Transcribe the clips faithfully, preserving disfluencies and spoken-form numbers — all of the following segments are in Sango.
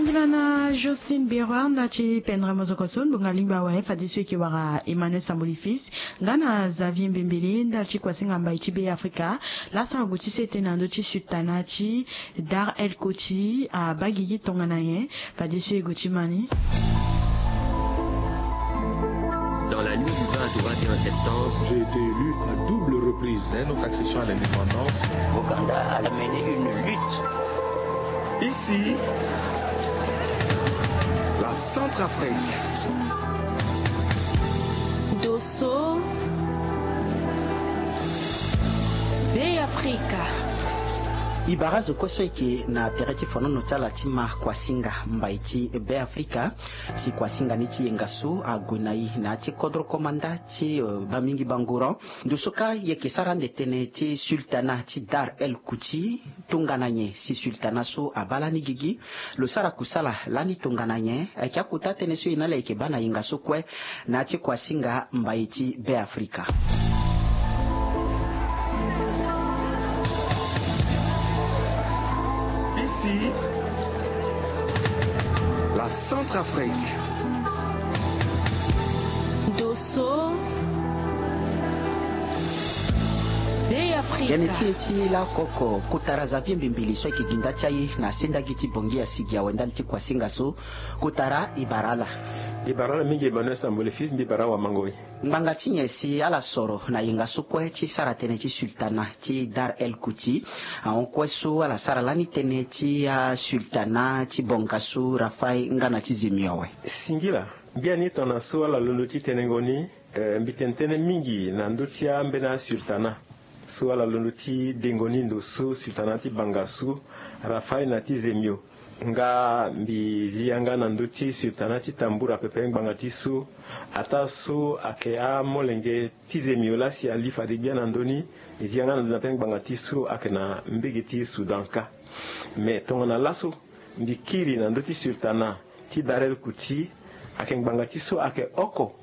Sila na Jocelyne Biroir nda ti pendere mozoko so ndonga lingba awe fadeso eke wara Emmanuel Samboli Fils nga na Xavier Mbembele nda ti kuasinga mbai ti Be Afrika. Lasa ague ti sete na ndö ti sultana ti Dar El Koti abaa gigi tongana nyen? Fadeso e gue ti ma ni. Dans la nuit du vingt au vingt et un septembre, j'ai été élu à double reprise. Dès notre accession à l'indépendance, Ouganda a mené une lutte. Ici, la Centrafrique. Dosso, Be Afrika. E bara azo kue so eke na tere ti fonono ti ala ti ma kuasinga mbai ti Be Afrika. Si kuasinga ni ti yenga so ague na e na ya ti kodro komanda ti Bamingi Bangoran. Ndo so kâ e yeke sara ande tënë ti sultana ti Dar El Kuti. Tongana nyen si sultana so abaa lani gigi? Lo sara kusala lani tongana nyen? Ayeke akota tënë so e na ala yeke baa na yenga so kue na ya ti kuasinga mbai ti Be Afrika. Ici, la Centrafrique. Dosso, Be Afrika. Tënë ti e ti lakoko kotara Xavier Mbembele so ayeke gi nda ti aye na sendagi ti Bangui asigi awe ndali ti kuasinga so. Kotara e bara ala. E bara ala mingi Emmanuel Samboli Fils, mbi bara awamangoi. Ngbanga ti nyen si ala soro na yenga so kue ti sara tënë ti sultana ti Dar El Kuti? Ahon kue so ala sara lani tënë ti asultana ti bongasu Rafai nga na ti Zemio awe. Singila. Biani tongana so ala londo ti tenengo ni, mbi tene tënë mingi na ndö ti ambeni asultana so ala londo ti dengo ni ndo so sultana ti bangasu Rafai na ti Zemio. Nga mbi zi yanga na ndö ti sultana ti Tambura pepe ngbanga ti so, ataa so ayeke amolenge ti Zemio laa si ali fade gbia na ndö ni. E zi yanga na ndö ni na pepe ngbanga ti so ayeke na mbege ti Soudan kâ. Me tongana laso mbi kiri na ndö ti sultana ti Dar El Kuti, ayeke ngbanga ti so ayeke oko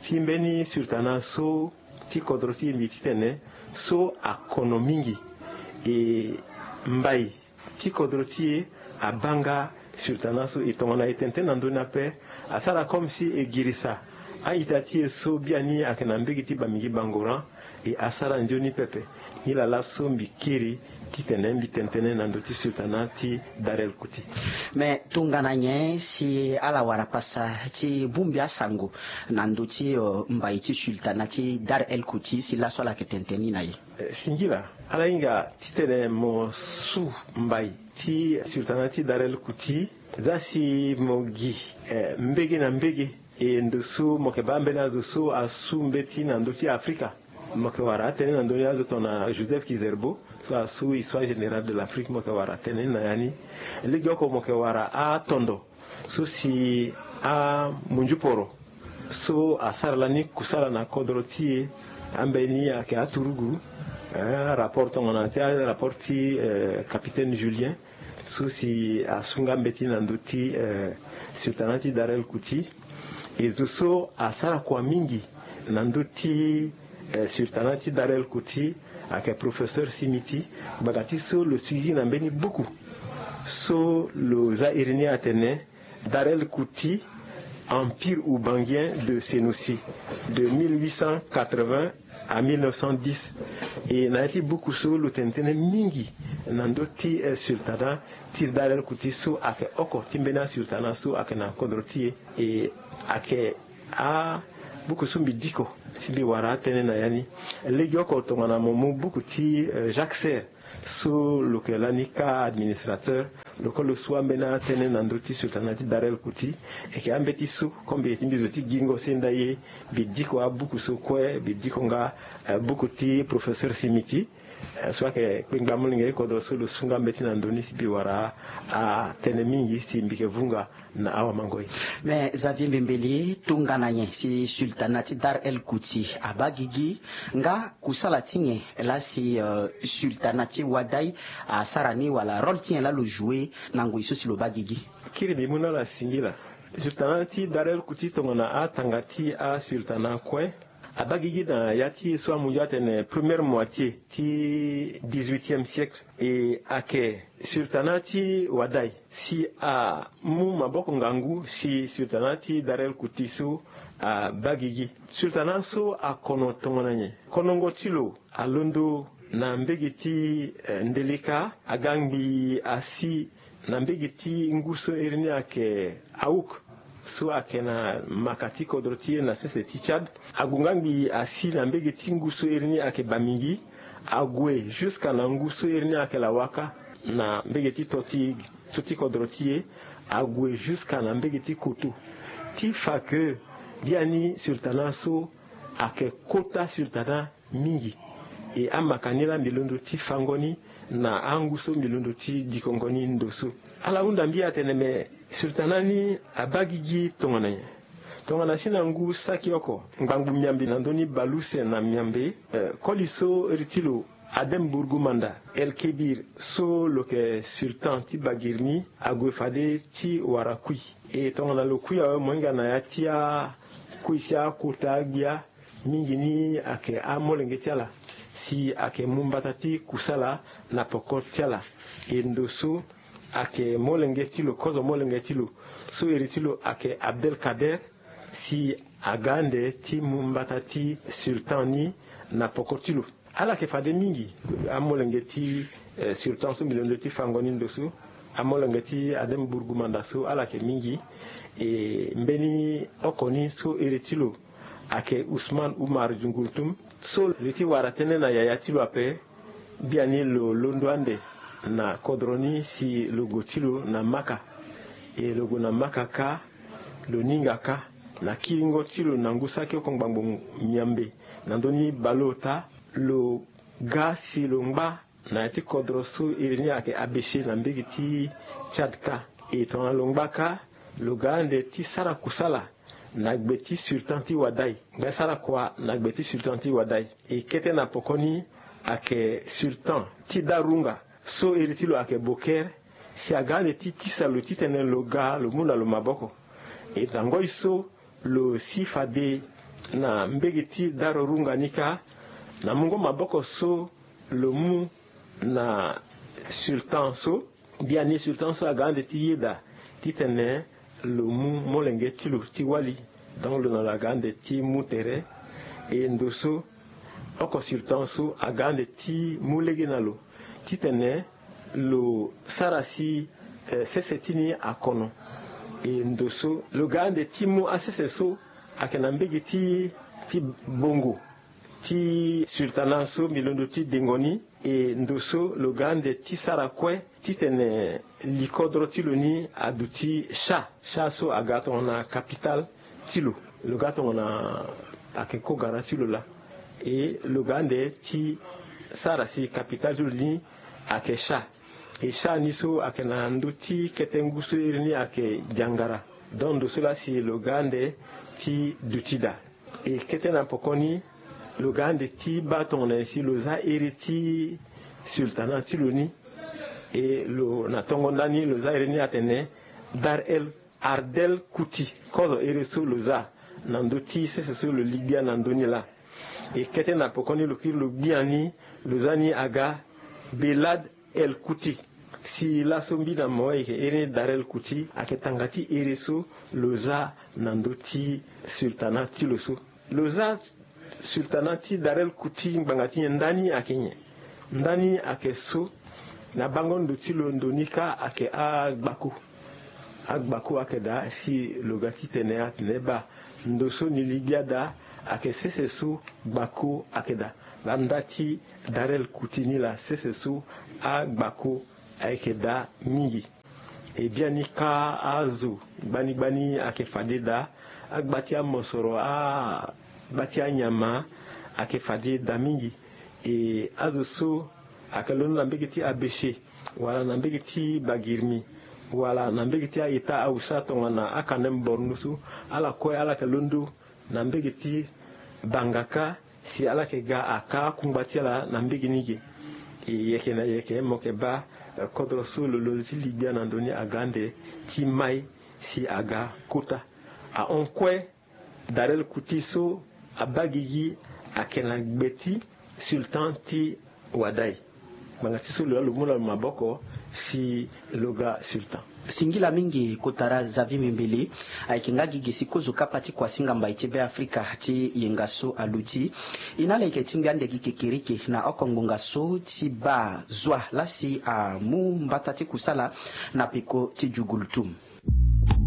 ti mbeni sultana so ti kodro ti e mbi titene so akono mingi. E mbai ti kodro ti e abaa nga sultana so. E tongana e tene tënë na ndö ni ape, asara comme si e girisa a-ita ti e so biani ayeke na mbege ti Bamingi Bangoran. E asara nzoni pepe. Nilaa laso mbi kiri titene mbi tene tënë na ndö ti sultana ti Dar El Kuti. Me tongana nyen si ala wara pasa ti bongbi asango na ndö ti mbai ti sultana ti Dar El Kuti si laso ala yeke tene tënë ni na e? Singila. Ala hinga titene mo su mbai ti sultana ti Dar El Kuti za si mo gi mbege na mbege. E ndo so mo yeke baa ambeni azo so asu mbeti na ndö ti Afrika. Mo yeke wara atënë na ndö ni azo tongana Joseph Kizerbo so asu histoire générale de l'Afrique, mo yeke wara atënë ni na ya ni. Legeoko mo yeke wara atondo so si amunzuporo so asara lani kusala na kodro ti e. Ambeni ayeke aturugu, arapport tongana ti arapport ti capitaine Julien so si asu nga mbeti na ndö ti sultana ti Dar El Kuti. E zo so asara kua mingi na ndö ti sultana ti Dar El Kuti ayeke professeur Simiti. Ngbanga ti so lo sigigi na mbeni buku so lo za iri ni atene Dar El Kuti, empire oubangien de Senoussi, de mille huit cent quatre-vingts à mille neuf cent dix. E na ya ti buku so lo tene tënë mingi na ndö ti sultana ti Dar El Kuti so ayeke oko ti mbeni asultana so ayeke na kodro ti e. E ayeke abuku so mbi diko si mbi wara atënë na ya ni. Legeoko tongana mo mu buku ti Jacques Serre so lo yeke lani kâ administrateur, lo kue lo su ambeni atënë na ndö ti sultana ti Dar El Kuti. E yeke ambeti so comme mbi yeke ti mbi zo ti gingo senda ye, mbi diko abuku so kue, mbi diko nga buku ti professeur Simiti so ayeke kpengba molenge ti kodro so lo su nga mbeti na ndö ni si mbi wara atënë mingi si mbi yeke vunga na awamangoi. Me Xavier Mbembele, tongana nyen si sultana ti Dar El Kuti abaa gigi? Nga kusala ti nyen laa si sultana ti Wadai asara ni wala rôle ti nyen laa lo jouer na ngoi so si lo baa gigi? Kiri mbi mu na ala singila. Sultana ti Dar El Kuti tongana atanga ti asultana kue abaa gigi na ya ti so amu ndio atene première moitié ti dix-huitième siècle. E ayeke sultana ti Wadai. si amu maboko ngangu si sultana ti Dar el Kuti so abaa gigi. Sultana so akono tongana nyen? Konongo ti lo alondo na mbege ti, eh, Ndeleka, aga ngbii asi na mbege ti ngu so iri ni ayeke Aouk, so ayeke na maka ti kodro ti e na sese ti Tchad. Ague nga ngbii asi na mbege ti ngu so iri ni ayeke Bamingi. Ague jusqu'à na ngu so iri ni ayeke Lawaka, na mbege ti to ti, to ti kodro ti e. Ague jusqu'à na mbege ti Koto. Ti fa ke biani sultana so ayeke kota sultana mingi. E amaka ni laa mbi londo ti fango ni na angu so mbi londo ti dikongo ni ndo so. Ala hunda mbi atene me sultana ni abaa gigi tongana nyen? Tongana si na ngu saki oko ngbangbu miambe na ndö ni bale use na miambe, eh, koli so iri ti lo Adem Bourgoumanda El Kébir so lo yeke sultan ti Baguir ni ague fade ti wara kui. E tongana lo kui awe mo hinga na ya ti akui ti akota agbia mingi ni ayeke amolenge ti ala, si ayeke mu mbata ti kusala na poko ti ala. E ndo so ayeke molenge ti lo, kozo molenge ti lo so iri ti lo ayeke Abdelkader, si aga ande ti mu mbata ti sultan ni na poko ti lo. Ala yeke fade mingi amolenge ti, eh, sultan so mbi londo ti fango ni ndo so, amolenge ti Adem Bourgoumanda so, ala yeke mingi. E mbeni oko ni so iri ti lo ayeke Ousmane Oumar Djoungoultoum so lo ti wara tënë na yaya ti lo ape. Biani lo londo ande na kodro ni si lo gue ti lo na Maka. E lo gue na Maka kâ, lo ni hinga kâ na kiringo ti lo na ngu saki oko ngbangbo miambe na ndö ni bale ota. Lo ga si lo ngba na ya ti kodro so iri ni ayeke Abéché na mbege ti Tchad kâ. E tongana lo ngba kâ, lo ga ande ti sara kusala na gbe ti sultan ti Ouaddaï. Ngbene sara kua na gbe ti sultan ti Ouaddaï. E kete na poko ni ayeke sultan ti Darounga so iri ti lo ayeke Boker, si aga ande ti tisa lo titene lo ga lo mu na lo maboko. E tangoi so lo si fade na mbege ti Darounga ni kâ, na mungo maboko so lo mu na sultan so. Biani sultan so aga ande ti yeda titene lo mu molenge ti lo ti wali. Donc lo na lo aga ande ti mu tere. E ndo so oko sultan so aga ande ti mu lege na lo titene lo sara si, eh, sese ti ni akono. E ndo so lo ga ande ti mu asese so ayeke na mbege ti, ti bongo ti sultana so mbi londo ti dengo ni. E ndo so lo ga ande ti sara kue titene li kodro ti lo ni aduti Cha. Cha so aga tongana capitale ti lo. Lo ga tongana ayeke kogara ti lo laa. E lo ga ande ti sara si capitale ti lo ni ayeke Cha. E Cha ni so ayeke na ndö ti kete ngu so iri ni ayeke Diangara. Donc ndo so laa si lo ga ande ti duti daa. E kete na poko ni lo ga ande ti baa tongana nyen si lo za iri ti sultana ti lo ni. E lo na tongo ndani lo za iri ni atene Dar el Ardel Kuti, kozo iri so lo za na ndö ti sese so lo li gbia na ndö ni laa. E kete na poko ni lo kiri lo gbia ni lo za ni aga Belad el Kuti. Si laso mbi na mo ayeke iri ni Dar el Kuti ayeke tanga ti iri so lo za na ndö ti sultana ti lo so. Lo za sultana ti Dar el Kuti ngbanga ti nyen? Ndani ayeke nyen? Ndani ayeke so na bango ndo ti lo ndo ni kâ ayeke agbako. Agbako ayeke daa si lo ga titene atene baa ndo so ni li gbia daa ayeke sese so gbako ayeke daa. Laa nda ti Dar el Kuti ni laa sese so agbako ayeke daa mingi. E biani kâ azo gbani gbani ayeke fade daa. Agba ti amosoro, agba ti anyama ayeke fade daa mingi. E azo so ayeke londo na mbege ti Abéché wala na mbege ti Bagirmi wala na mbege ti a-État Hausa tongana akanem Borno so, ala kue ala yeke londo na mbege ti Bangaka si ala yeke ga aka akungba ti ala na mbege ni ge. E yeke na yeke mo yeke baa, eh, kodro so lo londo ti li gbia na ndö ni aga ande ti mai si aga kota. Ahon kue Dar el Kuti so abaa gigi ayeke na gbe ti sultan ti Ouaddaï. Ngbanga ti so lo laa lo mu na lo maboko si lo ga sultan. Singila mingi kotara Xavier Mbembele. Ayeke nga gi gesi kozo kapa ti kuasinga mbai ti Beafrika ti yenga so aluti. E na ala yeke tingbi ande gi kekereke na oko ngbonga so ti baa zua lasi amu mbata ti kusala na peko ti Jugultum.